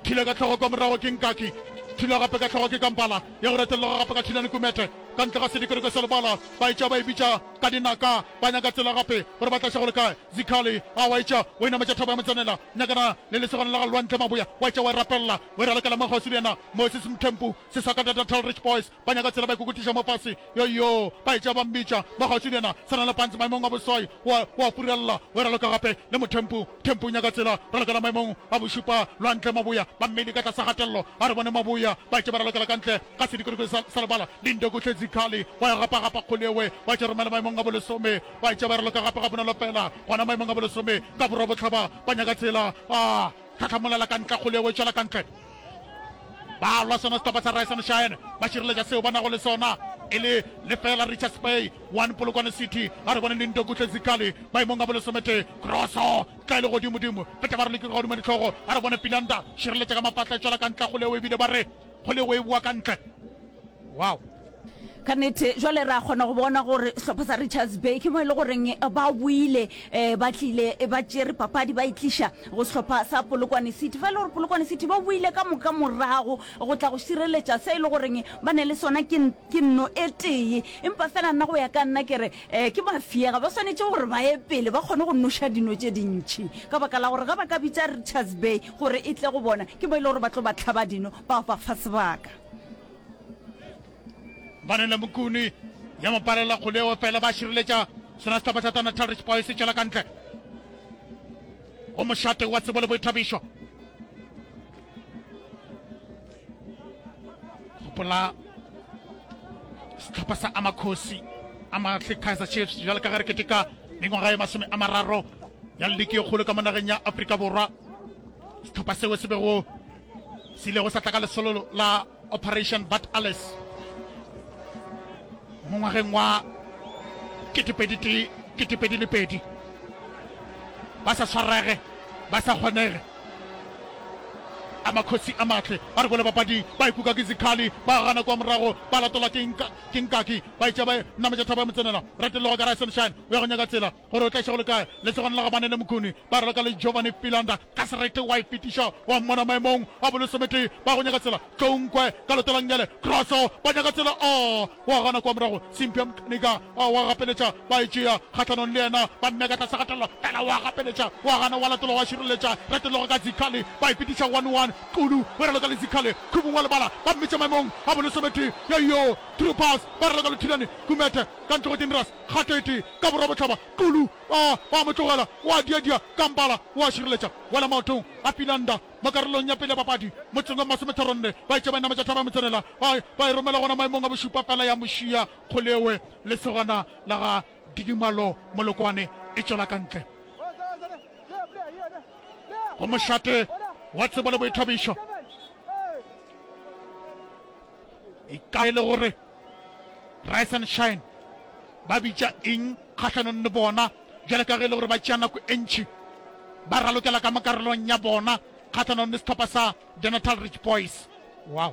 Thula ka hlogo kwa morago ke Nkaki. Thula gape ka hlogo ke Kampala. Ya go retelelwa gape ka Thulani Kumete. Ka ntle ga sedikodiko sa lebala. Ba etša ba e bitša ka dinaka. Ba nyaka tsela gape gore ba tlaše go le kae. Zikhali a wa etša o e nametša thaba ya Motsanela. Nyakana le lesogana la ga Lwantle Maboya. Wa etša wa e rapelela. O e ralokela mo kgauswi le yena Moses Mthempu. Sesakata Natal Rich Boys. Ba nyaka tsela ba ikokotiša mo fase. Yo-yo! Ba etša ba mmitša mo kgauswi le yena. Sanele Pants maemong a boswai. O a, o a furella. O e raloka gape le Mothempu. Thempu o nyaka tsela. Ralokela maemong a bošupa. Lwantle Maboya. Ba mmele ka tlase kgatelelo. A re bone Maboya. Ba etša ba ralokela ka ntle ga sedikodiko sa, sa lebala. Lindokuhle Zikhali wa e gapa-gapa kgole ewe. Ba etša romela maemong a bolesome. Ba etša ba e raloka gape gabonolo fela. Gona maemong a bolesome ka borwa-bohlaba. Ba nyaka tsela. A tlhatlhamolela ka ntle kgole ewe. Tšwela ka ntle. Ba lwa sona sehlopha sa Rise and Shine, ba šireletša seo ba nago le sona e le lefela Richards Bay one Polokwane City. A re bone Lindokuhle Zikhali maemong a bolesometee, kroso tla e le godimodimo, feta ba re lekile godimo dihlogo. A re bone Philander šireletša ka mafahla e tšwela ka ntle kgolego ebile ba re kgolego e boa ka ntle. Wow! Ka nnete, jwale re a kgona go bona gore sehlopha sa Richards Bay ke mo e le goreng ba boile, ba tlile ba tšere papadi ba e tliša go sehlopha sa Polokwane City. Fa e le gore Polokwane City ba boile ka moka morago go tla go šireletša se e le goreng ba ne le sona ke, ke nno e tee. Empa fela nna go ya ka nna ke re ke mafiega, ba swanetše gore ba ye pele ba kgone go noša dino tše dintši ka baka la gore ge ba ka bitša Richards Bay gore e tle go bona ke mo e le gore ba tlo ba hlaba dino ba ba fa sebaka. Banele Mokuni ya mo palela kgoleo fela ba šireletša sona sehlopha sa Natal Rich Boys se tšwela ka ntle go mošate wa tsebo le boithabišo. Gopola sehlopha sa Amakhosi Amahle Kaizer Chiefs bjalo ka ge re keteka mengwaga e masome a mararo ya liki e kgolo ka mo nageng ya Afrika Borwa. Sehlopha seo se bego se ilego sa tla ka lesolo la Operation Bat Alice mo ngwageng wa ketepedi tee ketepedi le pedi ba sa swarege ba sa kgonege a makhosi a matle ba re bole bapadi ba ikuka ke zikhali ba gana kwa morago ba latola ke nka ke nkaki ba itša ba nametša thaba ya motsenela retelloga ka Rise and Shine o ya go nyaka tsela gore o tla išego le kae lesogana la gabane le Mkhuni ba raloka le Giovanni Philander ka serete wa e fetiša wa mmona maemong a bolesometee ba go nyaka tsela Tlounkwe ka lotolang kroso ba nyaka tsela a wa gana kwa morago Simpia Mkanika a wa gapeletša ba e tšea kgahlanong le yena ba mmeka tlase gatelelo fela wa gapeletša wa gana wa latola wa šireletša retelloga ka Zikhali ba e fetiša one one Kulu o raloka le Zikhali Khubung wa lebala ba mmitša maemong a bolesometee yo true pass ba raloka le Thulani Kumete ka ntle go Dinras Kgato e tee ka borwa-bohlaba, Kulu a ba mo tlogela, o a diadia ka mpala, o a šireletša. Wela maotong a Philander mo karolong ya pele ya papadi, motseng wa masometharonne. Ba etša ba nametša thaba ya motsenela, ba ba e romela gona maemong a bošupa fela ya mošia Kgolewe lesogana la ga Didimalo Molokwane e tšwela ka ntle go mošate wa tsebo le boithabišo. E ka e le gore Rise and Shine ba bitša eng kgahlanong le bona bjale ka ge e le gore ba tšea nako e ntši ba ralokela ka mo karolong ya bona kgahlanong le sehlopha sa The Natal Rich Boys. Wow.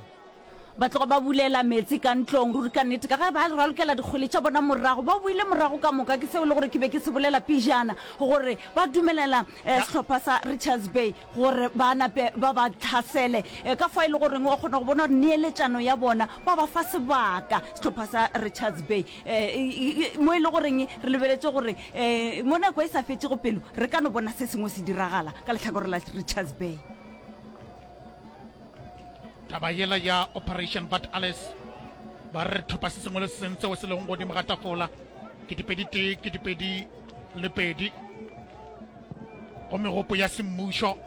Ba tloga ba bulela meetse ka ntlong, ruri ka nnete, ka ge ba ralokela dikgwele tša bona morago, ba boile morago ka moka. Ke seo e le gore ke be ke se bolela pejana, gore ba dumelela sehlopha sa Richards Bay gore ba nape ba ba hlasele. Ka fao e le goreng wa kgona go bona gore neeletšano ya bona ba ba fa sebaka sehlopha sa Richards Bay, mo e le goreng re lebeletše gore mo nako e sa fetšego pelo re ka no bona se sengwe se diragala ka lehlakore la Richards Bay. Taba yela ya Operation Vat Alles, ba re thopa se sengwe le se sengwe seo se lego godimo ga tafola, ketepedi tee, ketepedi le pedi, go megopo ya semmušo,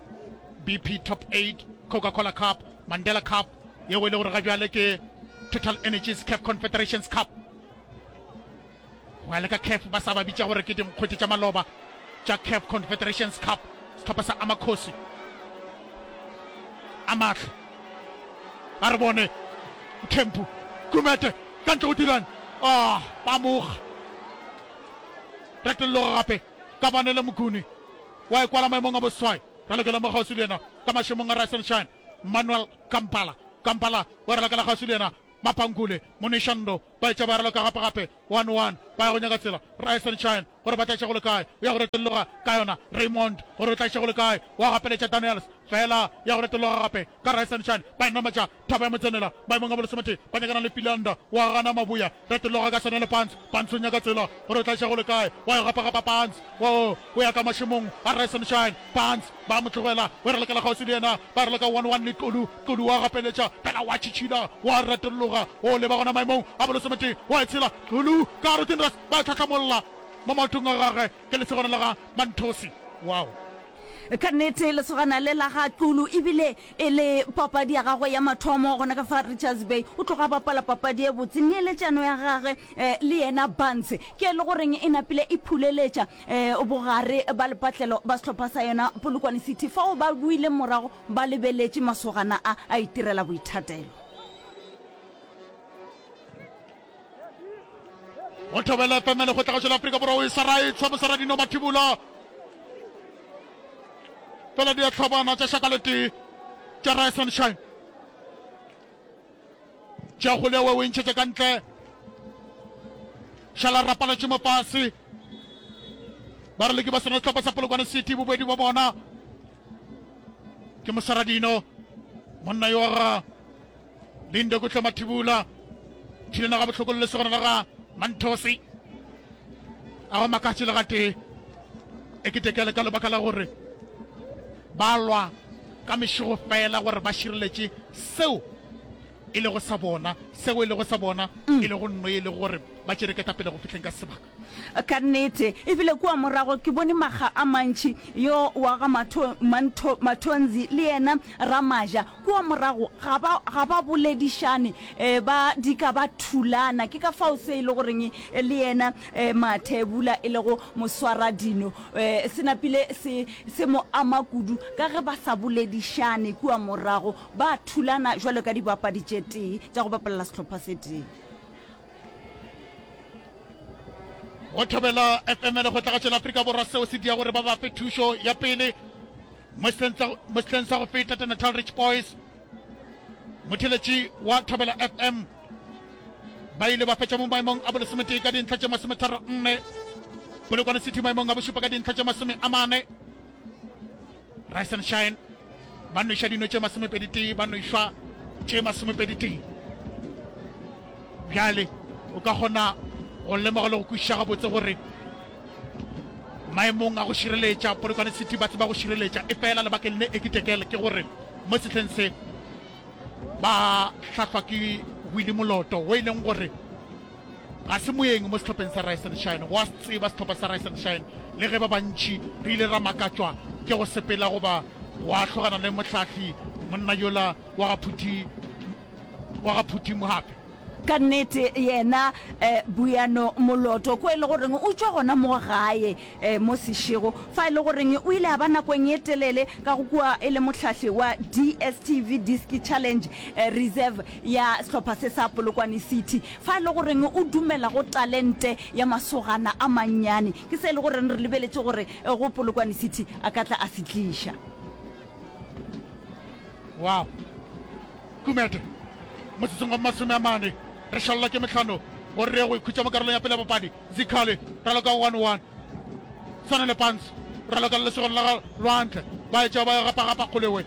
B P Top eight, Coca-Cola Cup, Mandela Cup, yeo e le gore ga bjale ke Total Energies CAF Confederations Cup. Go ya le ka CAF ba sa ba bitša gore ke dinkgwete tša maloba tša CAF Confederations Cup, sehlopha sa Amakhosi a mahle. A re bone Mthembu, Gumede ka ntle go Dylan, ah, ba moga. Retelloga gape ka Banele Mokuni wa e kwala maemong a boseswai. Ralokela mo kgauswi le yena Ka mašemong a Rise and Shine, Manuel Kampala. Kampala o raloka la kgauswi le yena Mapankule, Monishando, ba etša ba raloka gape gape, one one, ba ya go nyaka tsela, Rise and Shine, gore ba tla iša go le kae, o ya go retolloga ka yona, Raymond, gore o tla iša go le kae, wa gapeletša Daniels, fela ya go retolloga gape ka Rise and Shine, ba e nametša thaba ya motsenela, maemong a bolesometee, ba nyakana le Philander, wa gana Mabuya, retolloga ka sona le Pants, Pants o nyaka tsela, gore o tla iša go le kae, wa e gapa-gapa Pants, wo, o ya ka mašemong a Rise and Shine, Pants, ba mo tlogela, o ralokela kgauswi le yena, ba raloka one one le Kolu, Kolu wa gapeletša, fela wa tšhitšhila, wa retolloga, o leba gona maemong a bolesometee, wa e tshela, Kolu, ka gare Tinras, ba e tlhahlamolla mo maotong a gagwe, ke lesogana la ga Manthosi. Wow. Ka nnete, lesogana le la ga Xulu e bile e le papadi ya gagwe ya mathomo gona ka fa Richards Bay. O tloga a bapala papadi e botse. Neeletšano ya gagwe le yena Barnes ke e le goreng e napile e phuleletša bogare ba lepatlelo ba sehlopha sa yona Polokwane City fao ba boileng morago ba lebeletše masogana a a itirela boithatelo. Go Thobela F M Lekgotlagašo la Afrika Borwa o e swara e tshwa Mosaradino Mathibula. Fela di a hlobana tša šaka letee tša Rise and Shine. Tša kgole o e ntšhetše ka ntle. Šala rapaletše mo fase. Ba re leke ba sona sehlopha sa Polokwane City bobedi ba bona. Ke Mosaradino monna yo ga Lindo Kuhle Mathibula thulana ga bohloko le lesogana la ga Manthosi a go makatše le gatee e ketekele ka lebaka la gore ba lwa ka mešego fela gore ba šireletše seo e lego sa bona seo e lego sa bona e lego nno e lego gore ba tšere ketapele go fihleng ka sebaka. Ka nnete, ebile kua morago ke bone makga a mantši yo wa ga Matho, Mantho, Mathonzi le yena Ramaja kua morago ga ba, ga ba boledišane, e, ba dika ba thulana. Ke ka fao se e le goreng le yena e, Mathebula e lego moswaradino, e, se napile se, se mo ama kudu ka ge ba sa boledišane kua morago, ba thulana jwalo ka dibapadi tše tee tša go bapalela sehlopha se tee. Go Thobela F M Lekgotlagatšo la Afrika Borwa seo se dia gore ba ba fe thušo ya pele mo sehleng sa go feta. The Natal Rich Boys, motheletši wa Thobela F M, ba ile ba fetša mo maemong a bolesometee ka dintlha tše masometharo nne, Polokwane City maemong a bošupa ka dintlha tše masome a mane. Rise and Shine ba nweša dino tše masomepedi tee, ba nwešwa tše masomepedi tee. Bjale o ka kgona go lemoga le go kwešiša gabotse gore maemong a go šireletša Polokwane City ba tseba go šireletša, efela lebakeng le ekitekele ke gore mo sehleng se ba hlahlwa ke Willie Moloto wo e leng gore ga se moeng mo sehlopheng sa Rise and Shine. Go a se tseba sehlopha sa Rise and Shine, le ge ba bantši re ile ra makatšwa ke go sepela goba go ahlogana le mohlahli monna yola wa ga Phuthi, wa ga Phuthi Mohape. Ka nnete yena Buyano Moloto ko e le goreng o tšwa gona mo gae mo Seshego, fa e le goreng o ile a ba nakong ye telele ka go kua e le mohlahli wa D S T V Diski Challenge Reserve ya sehlopha se sa Polokwane City, fa e le goreng o dumela go talente ya masogana a mannyane. Ke se e le goreng re lebeletše gore go Polokwane City a ka tla a se tliša. Wow. Kumete, motsotsong wa masome a mane, re šalelwa ke mehlano gore re ye go ikhutša mo karolong ya pele ya papadi. Zikhali raloka one one, Swanele Pants raloka le lesogana la ga Lwantle, ba etša ba gapa-gapa kgolewe,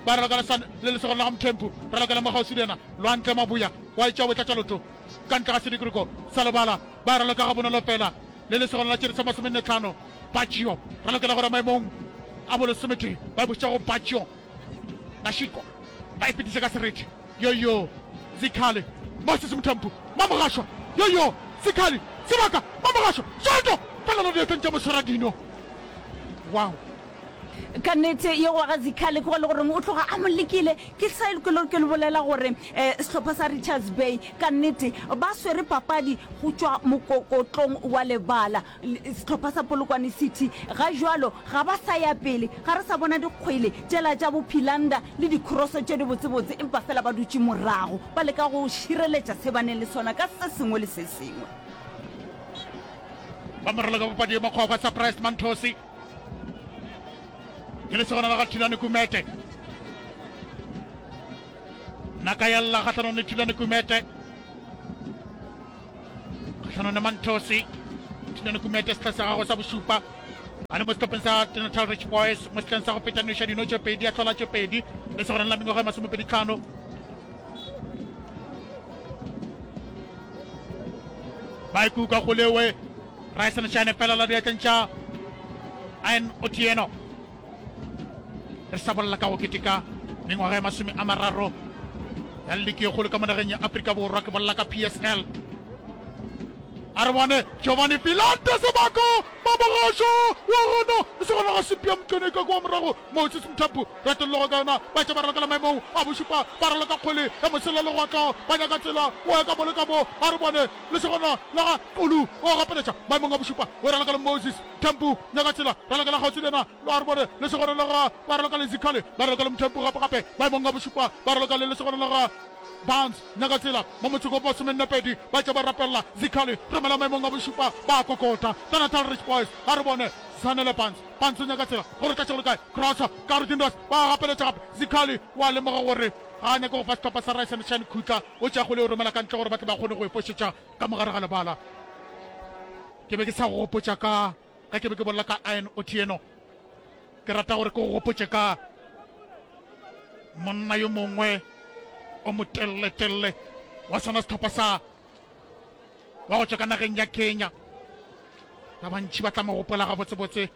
ba raloka le lesogana la ga Mthempu, raloka le mo kgauswi le yena Lwantle Mabuya, wa etša o tlatša loto ka ntle ga sedikriko sa lebala, ba raloka gabonolo fela le lesogana la tšere sa masomenne tlhano Baccio, ralokela gore maemong a bolesometee ba buša go Baccio. Mashiko ba e fetiša ka sereti. Yoyo Zikhali, Moses Mthembu, Mamogašwa. Yoyo Zikhali, Sebaka, Mamogašwa, Soto, felelo diatleng tša moswaradino. Wow. Ka nnete ye wa ga Zikhali ke go le goreng o tloga a mo lekile. Ke sa ke le ke le bolela gore um sehlopha sa Richards Bay ka nnete ba swere papadi go tšwa mokokotlong wa lebala. Sehlopha sa Polokwane City ga jwalo ga ba sa ya pele, ga re sa bona dikgwele tšela tša bo Philander le dikroso tše dibotsebotse, empa fela ba dutše morago ba leka go šireletša se ba neng le sona ka se sengwe le se sengwe. Ba moraloka papadi ye makgwakgwa Surprise Manthosi ke lesogana la ga Thulani Kumete. Naka ya lla kgahlanong le Thulane Kumete. Kgahlanong le Manthosi. Thulane Kumete sehla sa gagwe sa bošupa. A le mo sehlopheng sa Natal Rich Boys mo sehleng sa go feta noša dino tše pedi a hlola tše pedi le segoreng la mengwaga e masomepedi tlhano. Ba ikuka go lewe Ryson Shine fela la diatleng tša Ian Otieno. Re sa bolela ka go keteka mengwaga e masome a mararo ya liki e kgolo ka mo nageng ya Afrika Borwa, ke bolela ka P S L. A re bone Giovanni Filante Sebako Mamogašo wa gona le segona ga Sepia Mtone ka kwa morago Moses Mthapu ratellogo ka yona ba tša ba ralokela maemong a bošupa ba raloka kgwele ya mosela legwatlo ba nyaka tsela o ya ka mo le ka mo a re bone le segona la ga Qulu o gapeletša maemong a bošupa o raloka le Moses Mthembu nyaka tsela ralokela kgauswi le yena a re bone le segona la ga ba raloka le Zikhali ba raloka le Mthembu gape gape maemong a bošupa ba raloka le lesegona la ga Barnes nyaka tsela mo motseng wa masomenne pedi ba tša ba rapella Zikhali romela maemong a bošupa ba kokota ka Natal Rich Boys a re bone Zanele Barnes Barnes o nyaka tsela gore tlatše go le kae crossa ka re Dindos ba gapeletša gape Zikhali wa lemoga gore ga a nyake go fa sehlopha sa Rise and Shine khutla o tšea kgole o romela ka ntle gore ba tle ba kgone go e fošetša ka mogare ga lebala. Ke be ke sa go gopotša ka ge ke be ke bolela ka Ian Otieno. Ke rata gore ke go gopotše ka monna yo mongwe o motelele-telele wa sona sehlopha sa wa go tšwa ka nageng ya Kenya. Ba bantši ba tla mo gopola gabotsebotse,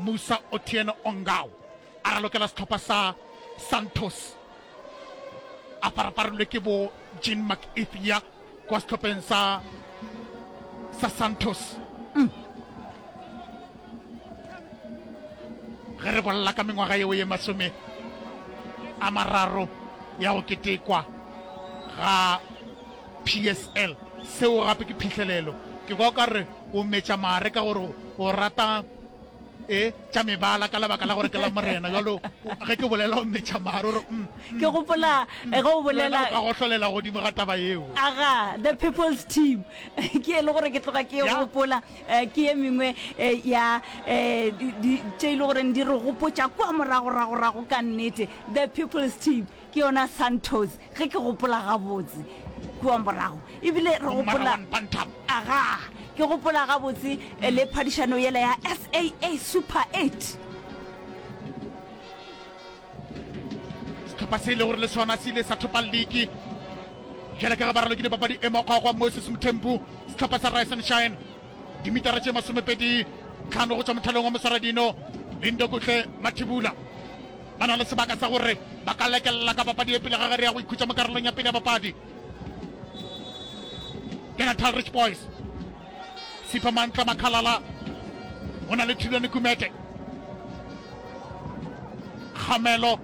Musa Otieno Ongao a ralokela sehlopha sa Santos a farafarilwe ke bo Jean McEathia kwa sehlopheng sa sa Santos. Mm. Ge re bolela ka mengwaga yeo ye masome a mararo ya go ketekwa ga P S L, seo gape ke phihlelelo. Ke kwa o ka re o metša mare ka gore o rata e tša mebala ka lebaka la gore ke la Morena. Jalo ge ke bolela o metša mare o re mm, Ke gopola ge o bolela ka gohlolela godimo ga taba yeo. Aga, the people's team ke e le gore ke tloga ke e gopola, ke ye mengwe ya tše e le goreng di re gopotša kua moragoragorago ka nnete. The people's team ke yona Santos ge ke gopola gabotse kua morago, ebile re gopola aga ke gopola gabotse le phadišano yela ya S A A Super eight. Sehlopha se e le gore le sona se ile sa thopa liki bjale ka ge ba ralokile papadi e mokgwa Moses Mthembu. Sehlopha sa Rise and Shine dimitara tše masomepedi tlhano go tšwa mothalong wa moswaradino Lindokuhle Mathibula ba na le sebaka sa gore ba ka lekelela ka papadi e pele ga ge re ya go ikhutša mo karolong ya pele ya papadi. Ke Natal Rich Boys. Sipho Mantla Makhalala o na le Thulane Kumete. Kgamelo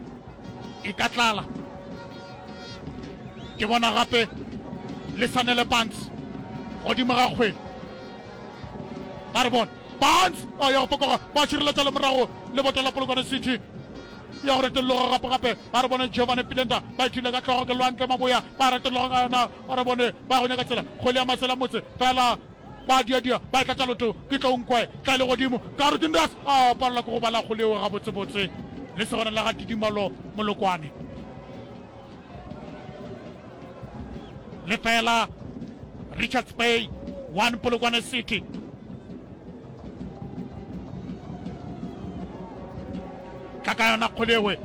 e ka tlala. Ke bona gape le Sanele Barnes godimo ga kgwele. Ba re bone Barnes a ya go fokoga, ba šireletša le morago leboto la Polokwane City ya go retologa gape gape. Ba re bone Giovanni Pilenta ba ithule ka hlogo ke Lwantle Maboya, ba retologa ka yona. Ba re bone ba go nyaka tsela kgwele ya masela motse fela ba diadia ba e tlatša loto ke tlo nkwe tla le godimo ka re Dindas a palelwa ke go bala kgwele yeo gabotsebotse le segona la ga Tidimalo Molokwane lefela Richards Bay one Polokwane City. Tla ka yona kgwele ewe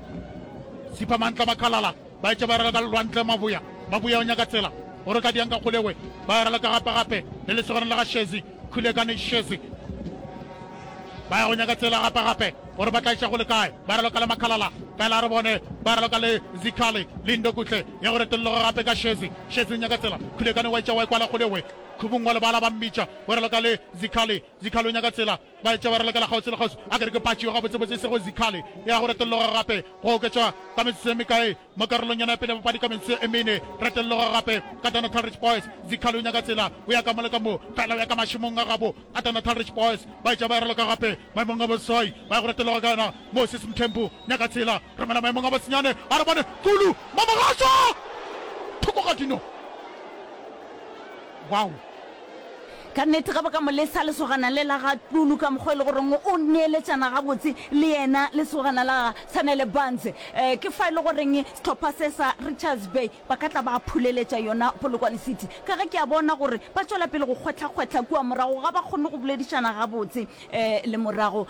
Sipha Mantla Makhalala ba etša ba raloka ka Lwantle Maboya. Maboya o nyaka tsela gore o tla diang ka kgwele ewe ba e raloka gape gape le lesogana la ga Shezi Khulekane Shezi ba ya go nyaka tsela gape gape gore ba tla iša go le kae ba raloka le Makhalala fela re bone ba raloka le Zikhali Lindo Kuhle ya go retolloga gape ka Shezi Shezi o nyaka tsela Khulekane wa etša wa e kwala kgwele ewe Khubung wa lebala ba mmitša o raloka le Zikhali Zikhali o nyaka tsela ba etša ba ralokela kgauswi le kgauswi a ke re ke patši gabotsebotse e sego Zikhali ya go retolloga gape go oketšwa ka metsotso e mekae mo karolong yona ya pele ya papadi ka metsotso e mene retolloga gape ka Natal Rich Boys Zikhali o nyaka tsela o ya ka mo le ka mo fela o ya ka mašemong a gabo a Natal Rich Boys ba etša ba raloka gape maemong a boseswai ba ya go retolloga ka yona Moses Mthembu nyaka tsela romela maemong a bosenyane a re bone Kulu Mamogašo thoko ga dino wow. Ka nnete ge ba ka mo lesa lesogana le la ga Tlulu ka mokgwa e le goreng o neeletšana gabotse le yena lesogana la ga Sanele Barnes, um ke fa e le goreng sehlopha se sa Richards Bay ba ka tla ba phuleletša yona Polokwane City. Ka ge ke a bona gore ba tšwela pele go kgwehlakgwehla kua morago, ga ba kgone go boledišana gabotse um le morago.